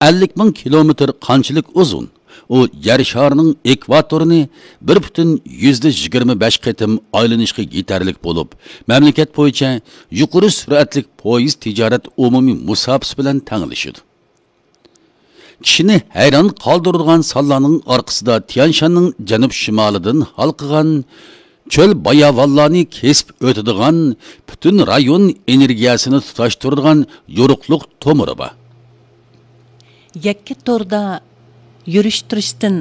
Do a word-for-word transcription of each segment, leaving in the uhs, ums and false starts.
ئەللىك مىڭ كىلومېتىر قانچىلىك ئۇزۇن؟ ئۇ يەر شارىنىڭ ئېكۋاتورىنى بىر پۈتۈن يۈزدە يىگىرمە بەش قېتىم ئايلىنىشقا يېتەرلىك بولۇپ، مەملىكەت بويىچە يۇقىرى سۈرئەتلىك پويىز تىجارەت ئومۇمىي مۇساپىسى بىلەن تەڭلىشىدۇ. كىشىنى ھەيران قالدۇرىدىغان سانلارنىڭ ئارقىسىدا تيەنشاننىڭ جەنۇب شىمالىدىن ھالقىغان چۆل باياۋانلارنى كېسىپ ئۆتىدىغان، پۈتۈن رايون ئېنېرگىيەسىنى تۇتاشتۇرىدىغان يورۇقلۇق تومۇرى بار. يەككە توردا يۈرۈشتۈرۈشتىن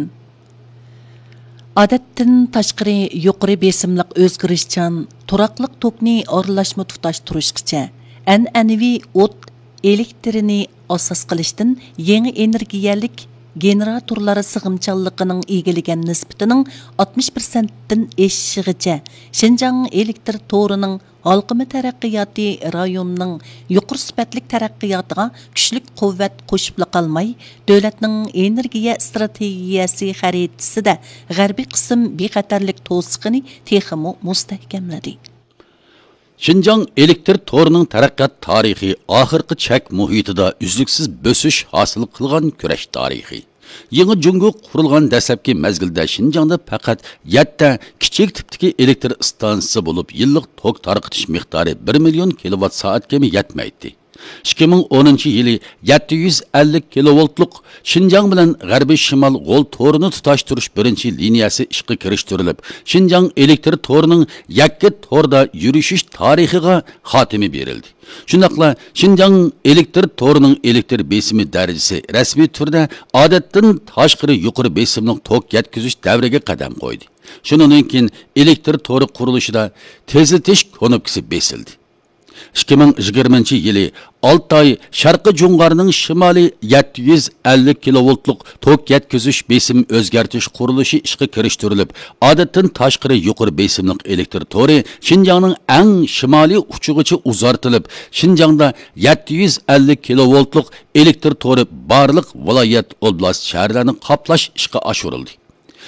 ئادەتتىن تاشقىرى يۇقىرى بېسىملىق ئۆزگىرىشچان تۇراقلىق توكنى ئارىلاشما تۇتاشتۇرۇشقىچە، ئەنئەنىۋى ئوت ئېلېكتىرىنى ئاساس قىلىشتىن يېڭى ئېنېرگىيەلىك گېنېراتورلار سىغىمچانلىقىنىڭ ئىگىلىگەن نىسبىتىنىڭ ئاتمىش پىرسەنتتىن ئېشىشىغىچە، شىنجاڭ ئېلېكتىر تورىنىڭ ھالقىما تەرەققىياتى رايوننىڭ يۇقىرى سۈپەتلىك تەرەققىياتىغا كۈچلۈك قۇۋۋەت قوشۇپلا قالماي، دۆلەتنىڭ ئېنېرگىيە ئىستراتېگىيەسى خەرىتىسىدە غەربىي قىسىم بىخەتەرلىك توسۇقىنى تېخىمۇ مۇستەھكەملىدى. شىنجاڭ ئېلېكتىر تورىنىڭ تەرەققىيات تارىخى ئاخىرقى چەك مۇھىتىدا ئۈزلۈكسىز بۆسۈش ھاسىل قىلغان كۈرەش تارىخى. يېڭى جۇڭگو قۇرۇلغان دەسلەپكى مەزگىلدە شىنجاڭدا پەقەت يەتتە كىچىك تىپتىكى ئېلېكتر ئىستانسىسى بولۇپ، يىللىق توك تارقىتىش مىقدارى بىر مىليون كىلوۋات سائەتكىمۇ يەتمەيتتى. ئىككى مىڭ ئونىنچى يىلى يەتتە يۈز ئەللىك كىلوۋولتلۇق شىنجاڭ بىلەن غەربىي شىمال غول تورىنى تۇتاشتۇرۇش بىرىنچى لىنىيەسى ئىشقا كىرىشتۈرۈلۈپ، شىنجاڭ ئېلېكتر تورىنىڭ يەككە توردا يۈرۈشۈش تارىخىغا خاتىمە بېرىلدى. شۇنداقلا شىنجاڭ ئېلېكتر تورىنىڭ ئېلېكتر بېسىمى دەرىجىسى رەسمىي تۈردە ئادەتتىن تاشقىرى يۇقىرى بېسىملىق توك يەتكۈزۈش دەۋرىگە قەدەم قويدى. شۇنىڭدىن كېيىن ئېلېكتر تورى قۇرۇلۇشىدا تېزلىتىش كۇنۇپكىسى بېسىلدى. ئىككى مىڭ يىگىرمىنچى يىلى ئالتاي شەرقىي جۇڭغارنىڭ شىمالىي يەتتە يۈز ئەللىك كىلوۋولتلۇق توك يەتكۈزۈش بېسىم ئۆزگەرتىش قۇرۇلۇشى ئىشقا كىرىشتۈرۈلۈپ، ئادەتتىن تاشقىرى يۇقىرى بېسىملىق ئېلېكتر تورى شىنجاڭنىڭ ئەڭ شىمالىي ئۇچىغىچە ئۇزارتىلىپ، شىنجاڭدا يەتتە يۈز ئەللىك كىلوۋولتلۇق ئېلېكتر تورى بارلىق ۋىلايەت، ئوبلاست، شەھەرلەرنى قاپلاش ئىشقا ئاشۇرۇلدى.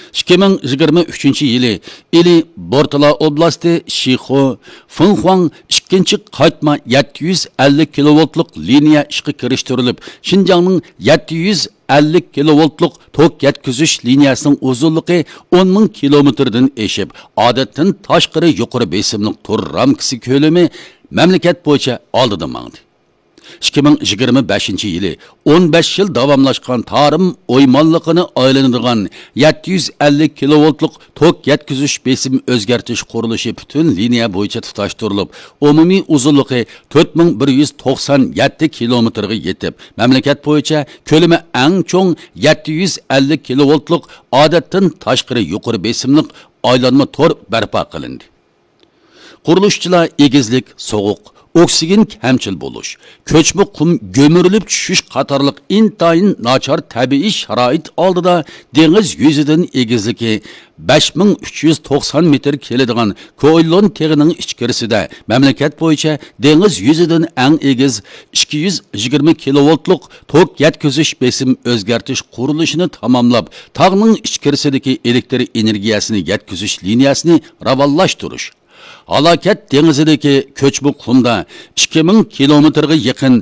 ئىككى مىڭ يىگىرمە ئۈچىنچى يىلى ئىلى بورتالا ئوبلاستى شىخۇ فېڭخۇاڭ ئىككىنچى قايتما يەتتە يۈز ئەللىك كىلوۋولتلۇق لىنىيە ئىشقا كىرىشتۈرۈلۈپ، شىنجاڭنىڭ يەتتە يۈز ئەللىك كىلوۋولتلۇق توك يەتكۈزۈش لىنىيەسىنىڭ ئۇزۇنلۇقى ئون مىڭ كىلومېتىردىن ئېشىپ، ئادەتتىن تاشقىرى يۇقىرى بېسىملىق تور رامكىسى كۆلىمى مەملىكەت بويىچە ئالدىدا ماڭدى. ئىككى مىڭ يىگىرمە بەشىنچى يىلى ئون بەش يىل داۋاملاشقان تارىم ئويمانلىقىنى ئايلىنىدىغان يەتتە يۈز ئەللىك كىلوۋولتلۇق توك يەتكۈزۈش بېسىم ئۆزگەرتىش قۇرۇلۇشى پۈتۈن لىنىيە بويىچە تۇتاشتۇرۇلۇپ، ئومۇمىي ئۇزۇنلۇقى تۆت مىڭ بىر يۈز توقسان يەتتە كىلومېتىرغا يېتىپ، مەملىكەت بويىچە كۆلىمى ئەڭ چوڭ يەتتە يۈز ئەللىك كىلوۋولتلۇق ئادەتتىن تاشقىرى يۇقىرى بېسىملىق ئايلانما تور بەرپا قىلىندى. قۇرۇلۇشچىلار ئېگىزلىك، سوغۇق، ئوكسىگېن كەمچىل بولۇش، كۆچمە قۇم گۈمۈرۈلۈپ چۈشۈش قاتارلىق ئىنتايىن ناچار تەبىئىي شارائىت ئالدىدا دېڭىز يۈزىدىن ئېگىزلىكى بەش مىڭ ئۈچ يۈز توقسان مېتىر كېلىدىغان كوئېللون تېغىنىڭ ئىچكىرىسىدە مەملىكەت بويىچە دېڭىز يۈزىدىن ئەڭ ئېگىز ئىككى يۈز يىگىرمە كىلوۋولتلۇق توك يەتكۈزۈش بېسىم ئۆزگەرتىش قۇرۇلۇشىنى تاماملاپ، تاغنىڭ ئىچكىرىسىدىكى ئېلېكتر ئېنېرگىيەسىنى يەتكۈزۈش لىنىيەسىنى راۋانلاشتۇرۇش، ھالاكەت دېڭىزىدىكى كۆچمە قۇمدا ئىككى مىڭ كىلومېتىرغا يېقىن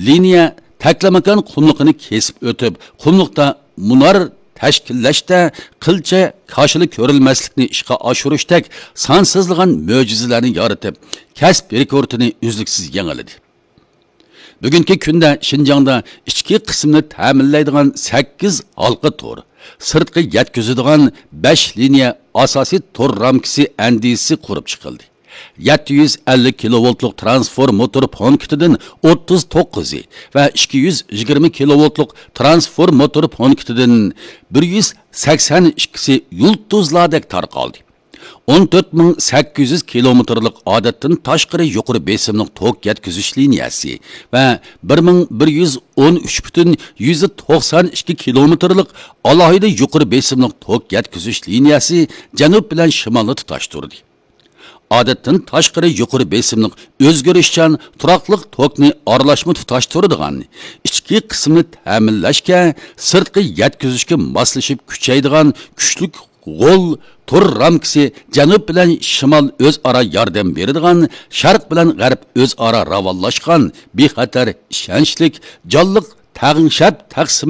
لىنىيە تەكلىماكان قۇملۇقىنى كېسىپ ئۆتۈپ، قۇملۇقتا مۇنار تەشكىللەشتە قىلچە كاشىلا كۆرۈلمەسلىكنى ئىشقا ئاشۇرۇشتەك سانسىزلىغان مۆجىزىلەرنى يارىتىپ، كەسىپ رېكورتىنى ئۈزلۈكسىز يېڭىلىدى. بۈگۈنكى كۈندە شىنجاڭدا ئىچكى قىسمىنى تەمىنلەيدىغان سەككىز ھالقا تور، سىرتقا يەتكۈزىدىغان بەش لىنىيە ئاساسىي تور رامكىسى ئەندىزىسى قۇرۇپ چىقىلدى. يەتتە يۈز ئەللىك كىلوۋولتلۇق ترانسفورماتور پونكىتىدىن ئوتتۇز توققۇزى ۋە ئىككى يۈز يىگىرمە كىلوۋولتلۇق ترانسفورماتور پونكىتىدىن بىر يۈز سەكسەن ئىككىسى يۇلتۇزلاردەك تارقالدى. ئون تۆت مىڭ سەككىز يۈز كىلومېتىرلىق ئادەتتىن تاشقىرى يۇقىرى بېسىملىق توك يەتكۈزۈش لىنىيەسى ۋە بىر مىڭ بىر يۈز ئون ئۈچ پۈتۈن يۈزدە توقسان ئىككى كىلومېتىرلىق ئالاھىدە يۇقىرى بېسىملىق توك يەتكۈزۈش لىنىيەسى جەنۇب بىلەن شىمالنى تۇتاشتۇردى. ئادەتتىن تاشقىرى يۇقىرى بېسىملىق ئۆزگىرىشچان تۇراقلىق توكنى ئارىلاشما تۇتاشتۇرىدىغان، ئىچكى قىسمىنى تەمىنلەشكە، سىرتقى يەتكۈزۈشكە ماسلىشىپ كۈچەيدىغان كۈچلۈك غول تور رامكىسى جەنۇب بىلەن شىمال ئۆزئارا ياردەم بېرىدىغان، شەرق بىلەن غەرب ئۆزئارا راۋانلاشقان، بىخەتەر، ئىشەنچلىك، جانلىق تەڭشەپ تەقسىم